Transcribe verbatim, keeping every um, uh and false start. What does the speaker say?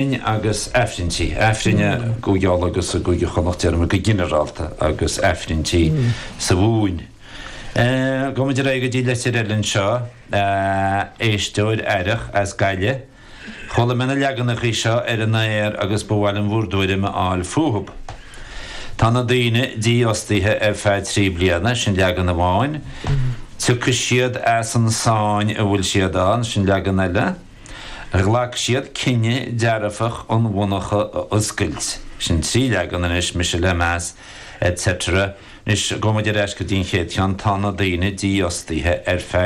Agus Aifrinntí, Aifrinn i gCúige Uladh agus i gCúige Chonnacht, déarfaidh mé go ginearálta, agus Aifrinntí sa Mhumhain. Gabhfaidh muid ar aghaidh go dtí litir eile anseo, éisteoir aerach as Gaillimh. Chuala mé na leaganachaí seo ar an aer agus ba mhaith liom bhur dtuairim a fháil fúthub. Tá na daoine dífhostaithe ar feadh trí bliana, sin leagan amháin. Tiocfaidh siad as an sáinn a bhfuil siad ann, sin leagan eile. Ghlac siad cinneadh dearfach an mhonarcha a oscailt. Sin trí leagan anois, mise le meas, etc. Anois, gabhfaidh muid ar ais go dtí an chéad cheann, tá na daoine dífhostaithe ar feadh.